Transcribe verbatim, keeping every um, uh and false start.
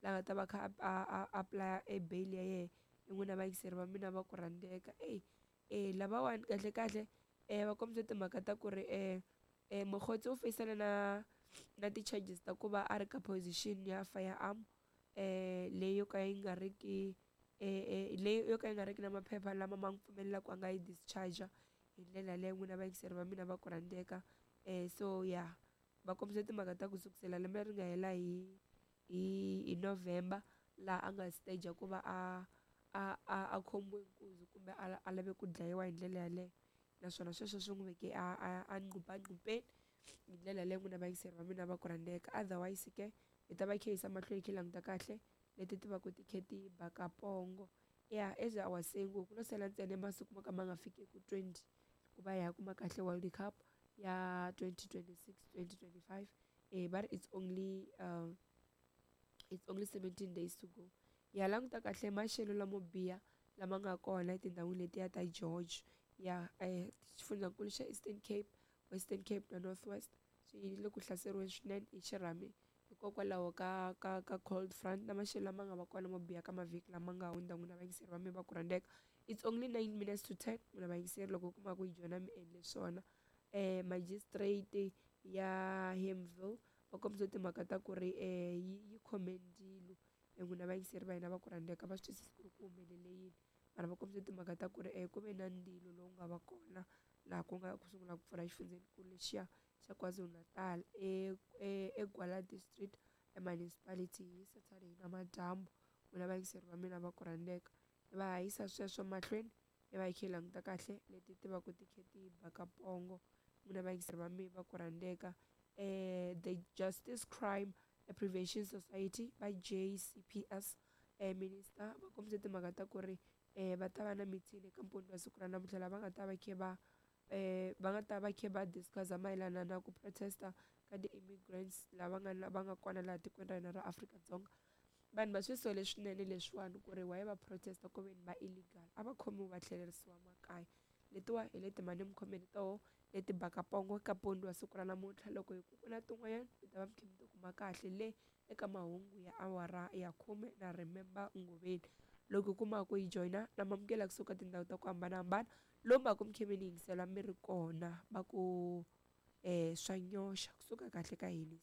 La nga ta va kha a a apply e bail ya yena n'wina vayingiseri va mina va ku rhandzeka. Eyi e lavawani kahle kahle um va kombisa timhaka ta ku ri um Mokgotsi u feyisana na na ti-charges ta ku va a ri ka position ya firearm um leyi yo ka yi nga ri ki leyi yo ka yi nga ri ki na maphepha lama ma n'wi pfumelelaka a nga yi discharge hi ndlela yaleyo n'wina vayingiseri va mina va ku rhandzeka. um So ya va kombisa timhaka ta ku sukusela lembe leri nga hela hi hi hi November laha a nga stage ku va a a a a khomiwe nkunzi kumbe a a lave ku dlayiwa hi ndlela yaleyo, naswona sweswo swi n'wi veke a a a nquphanqupeni hi ndlela yaleyo n'wina vayingiseri va mina va ku rhandzeka. Otherwise ke hi ta va kha hi yisa mahlweni hi languta kahle leti ti va ku ti kha ti baka pongo. Ya, as I was saying ku lo sala ntsena masiku mo ka ma nga fikeki twenty ku va hi ya kuma kahle World Cup ya twenty twenty six twenty twenty five. Eh va ri it's only uh, it's only seventeen days to go. Ya languta kahle maxelo lamo biha lama nga kona etindhawini letiya ta George ya eh xifundzankulu xa Eastern Cape, Western Cape na North West swi le ku hlaseriweni swinene hi xirhami hikokwalaho ka ka ka cold front na maxelo lama nga va kona mo biha ka mavhiki lama nga hundza n'wina vayingiseri va mina va ku rhandzeka. It's only nine minutes to ten n'wina vayingiseri loko u kuma ku yi joyina mi endle swona. um Magistrate ya Himville va kombisa timhaka ta ku ri um yi yi khome ndzilo n'wina vayingiseri va hina va ku rhandzeka va swi twisisi ku ri ku humelele yini, mara va kombisa timhaka ta ku ri um ku ve na ndzilo lowu nga va kona laha ku nga ku sungula ku pfurha xifundzenikulu lexiya xa KwaZulu-Natal e eGwala District Municipality hi Saturday namadyambu n'wina vayingiseri va mina va ku rhandzeka. Va ha yisa sweswo mahlweni hi va hi kha hi languta kahle leti ti va ku ti kha ti baka pongo n'wina vayingiseri va mina va ku rhandzeka. um The Justice Crime Prevention Society va J C P S um minister va kombise timhaka ta ku ri um va ta va na meeting eka mpundzu wa siku ra namuntlha laha va nga ta va kha va um va nga ta va kha va discuss mayelana na ku protesta ka ti-immigrants lava nga va nga kona laha tikweni ra hina ra Afrika-Dzonga. Vanhu va swi sole swinene leswiwani ku ri why va protesta ku veni va illegal, a va khomiwi va tlhelerisiwa makaya. Letiwa hi leti mhani mi khomeni toho leti baka pongo ka mpundzu wa siku ra namuntlha. Loko hi ku ku na tin'wanyana mi ta va mi kha mi ti kuma kahle le eka mahungu ya awara ya khume na Remember Ngoveni. Loko u kuma ku yi joyina na mamukela kusuka tindhawu ta ku hambanahambana lomu va ku mi kha mi ni yingisela mi ri kona va ku um swa nyoxa kusuka kahle ka hina.